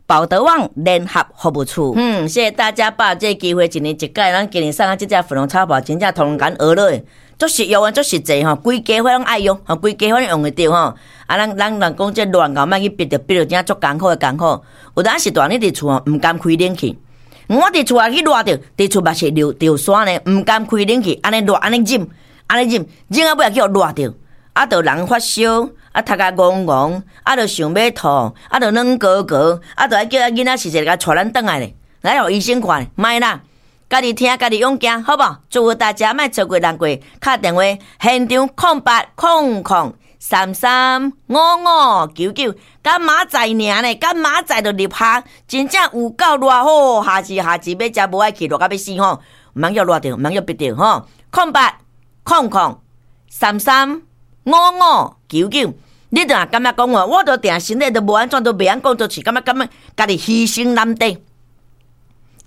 寶德旺聯合服務處。謝謝大家把這個機會，一年一屆，咱今年送啊這隻粉紅超跑，真正同人學落，足實用啊，足實際吼，規家伙攏愛用，吼，規家伙攏用會著吼。啊，咱咱人講這熱𠢕莫去逼著，逼著真足艱苦的艱苦。有當時大漢你佇厝吼，毋甘開冷氣。我佇厝也去熱著，佇厝嘛是著著山呢，毋甘開冷氣，按呢熱，按呢忍，按呢忍，忍到尾仔去予熱著，啊，著人發燒，啊，頭殼戇戇，啊，著想欲吐，啊，著軟膏膏，啊，著愛叫囡仔時時共帶咱轉來咧，來予醫生看，莫啦，家己聽，家己勇行，好無？祝福大家莫錯過難過，敲電話現場0800335599，佮明仔載爾呢，佮明仔載就入夏，真正有夠熱吼！夏至夏至欲食無愛去，熱甲欲死吼！毋通予熱著，毋通予逼著吼！0800335599，你著若感覺講話，我著定身體都無按怎，都袂曉講做事，感覺感覺家己犧牲難得，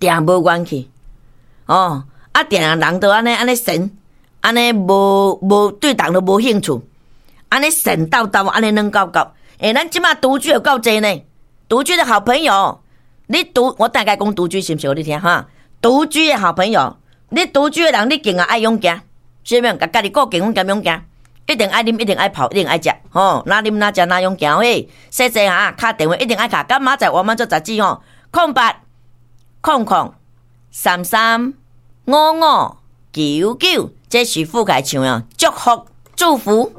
定無元氣哦！啊，定人都按呢按呢神，按呢無無對人都無興趣。按呢神叨叨，按呢軟厚厚。欸，咱這馬獨居有夠濟呢，獨居的好朋友，你獨我大概講獨居是毋是？予你聽哈，獨居的好朋友，你獨居的人，你更加愛勇行，是毋？共家己顧健康兼勇行，一定愛啉，一定愛泡，一定愛食，吼，若啉若食若勇行嘿。細細哈，敲電話一定愛敲，佮明仔載我們做雜誌吼，0800335599，這是傅凱唱的，祝福祝福。